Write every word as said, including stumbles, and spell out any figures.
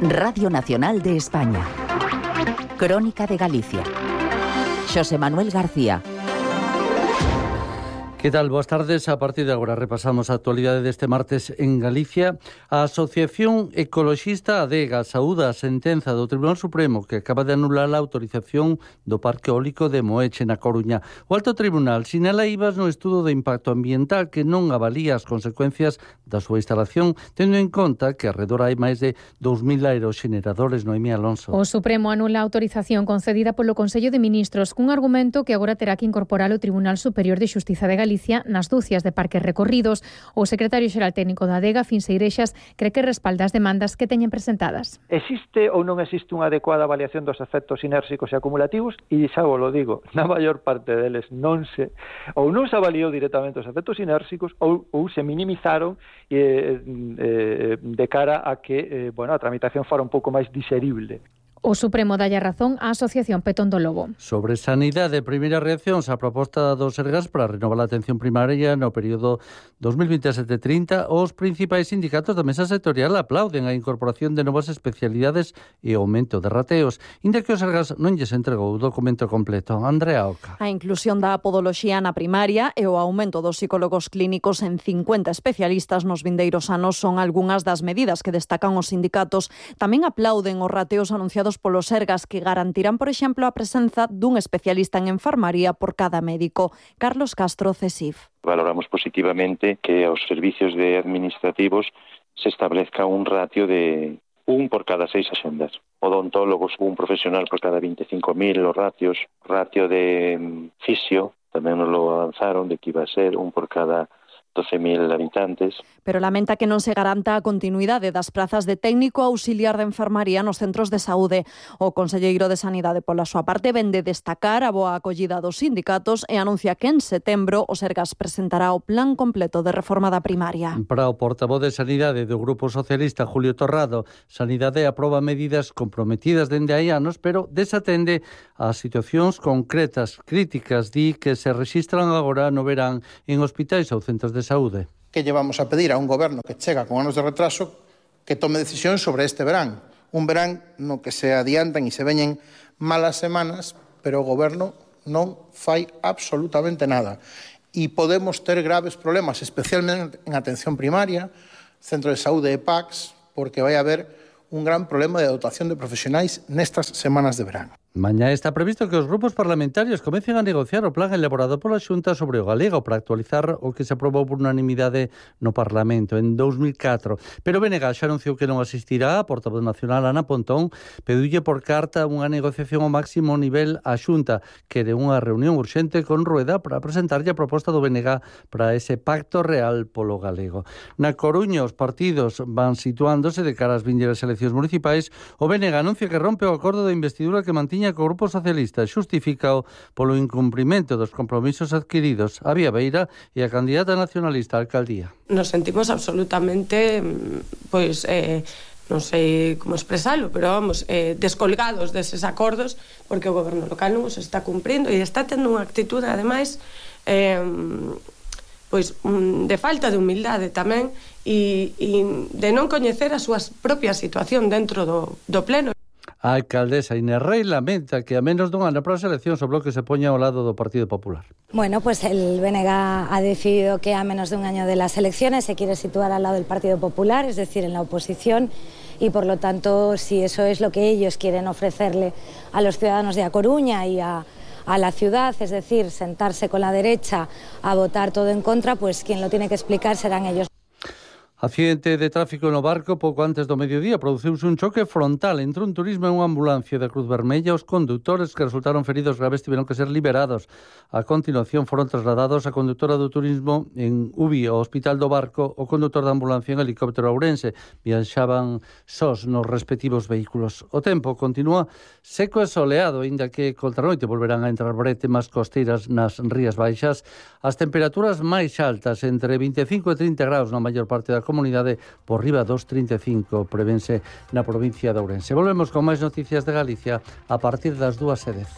Radio Nacional de España. Crónica de Galicia. Xosé Manuel García. Que tal? Boas tardes. A partir de agora repasamos a actualidade deste martes en Galicia. A Asociación Ecoloxista Adega saúda a sentenza do Tribunal Supremo que acaba de anular a autorización do Parque Eólico de Moeche na Coruña. O Alto Tribunal sinala ibas no estudo de impacto ambiental que non avalía as consecuencias da súa instalación, tendo en conta que arredor hai máis de dous mil aeroxeneradores. Noemí Alonso. O Supremo anula a autorización concedida polo Consello de Ministros cun argumento que agora terá que incorporar o Tribunal Superior de Xustiza de Galicia nas dúcias de parques recorridos. O secretario xeral técnico da Adega, Fins Eirexas, cree que respalda as demandas que teñen presentadas. Existe ou non existe unha adecuada avaliación dos efectos sinérxicos e acumulativos? E xa vos lo digo, na maior parte deles non se ou non se avaliou directamente os efectos sinérxicos ou, ou se minimizaron eh, eh, de cara a que eh, bueno, a tramitación fora un pouco máis diserible. O Supremo dalle razón á Asociación Petón do Lobo. Sobre sanidade, primeira reacción a proposta do Sergas para renovar a atención primaria no período dos mil veintesete trinta, os principais sindicatos da mesa sectorial aplauden a incorporación de novas especialidades e aumento de rateos, inda que o Sergas non lles entregou o documento completo. Andrea Oca. A inclusión da podoloxía na primaria e o aumento dos psicólogos clínicos en cincuenta especialistas nos vindeiros anos son algunhas das medidas que destacan os sindicatos. Tamén aplauden os rateos anunciados polo Sergas que garantirán, por exemplo, a presenza dun especialista en enfermaría por cada médico. Carlos Castro, CESIF. Valoramos positivamente que aos servicios de administrativos se establezca un ratio de un por cada seis axendas. Odontólogos, un profesional por cada veinticinco mil, os ratios, ratio de fisio, tamén nos lo avanzaron de que iba a ser un por cada doce mil habitantes. Pero lamenta que non se garanta a continuidade das prazas de técnico auxiliar de enfermaría nos centros de saúde. O conselleiro de Sanidade, pola súa parte, vende destacar a boa acollida dos sindicatos e anuncia que en setembro o Sergas presentará o plan completo de reforma da primaria. Para o portavoz de Sanidade do Grupo Socialista, Julio Torrado, Sanidade aproba medidas comprometidas dende hai anos, pero desatende as situacións concretas, críticas, di que se rexistran agora no verán en hospitais ou centros de saúde. Que llevamos a pedir a un goberno que chega con anos de retraso que tome decisións sobre este verán. Un verán no que se adiantan e se veñen malas semanas, pero o goberno non fai absolutamente nada. E podemos ter graves problemas, especialmente en atención primaria, centro de saúde e P A Cs, porque vai haber un gran problema de dotación de profesionais nestas semanas de verán. Mañá está previsto que os grupos parlamentarios comecen a negociar o plan elaborado pola Xunta sobre o galego para actualizar o que se aprobou por unanimidade no Parlamento en dous mil catro. Pero B N G xa anunciou que non asistirá. A portavoz nacional Ana Pontón pediulle por carta unha negociación ao máximo nivel á Xunta, que de unha reunión urxente con Rueda para presentarlle a proposta do B N G para ese pacto real polo galego. Na Coruña os partidos van situándose de cara ás vindeiras eleccións municipais. O B N G anuncia que rompe o acordo de investidura que mantiña que o Grupo Socialista xustificao polo incumprimento dos compromisos adquiridos. A Vía Beira e a candidata nacionalista á alcaldía. Nos sentimos absolutamente, pois, eh, non sei como expresalo, pero vamos, eh, descolgados deses acordos, porque o goberno local non os está cumprindo e está tendo unha actitude, ademais, eh, pois de falta de humildade tamén e, e de non coñecer a súa propia situación dentro do, do pleno. A alcaldesa Inés Rei lamenta que a menos dun ano para as eleccións o Bloque se poña ao lado do Partido Popular. Bueno, pues el B N G ha decidido que a menos de un año de las elecciones se quiere situar al lado del Partido Popular, es decir, en la oposición, y por lo tanto, si eso es lo que ellos quieren ofrecerle a los ciudadanos de A Coruña y a, a la ciudad, es decir, sentarse con la derecha a votar todo en contra, pues quien lo tiene que explicar serán ellos. Accidente de tráfico no Barco pouco antes do mediodía. Produciuse un choque frontal entre un turismo e unha ambulancia da Cruz Vermella. Os condutores que resultaron feridos graves tiveron que ser liberados. A continuación foron trasladados a condutora do turismo en Ubi, ao Hospital do Barco, o condutor da ambulancia en helicóptero a Ourense. Viaxaban sós nos respectivos vehículos. O tempo continúa seco e soleado, aínda que contra noite volverán a entrar brétemas costeiras nas Rías Baixas. As temperaturas máis altas, entre vinte e cinco e trinta graus na maior parte da comunidade, por riba dos trinta e cinco, prevense na provincia de Ourense. Volvemos con máis noticias de Galicia a partir das dúas e dez.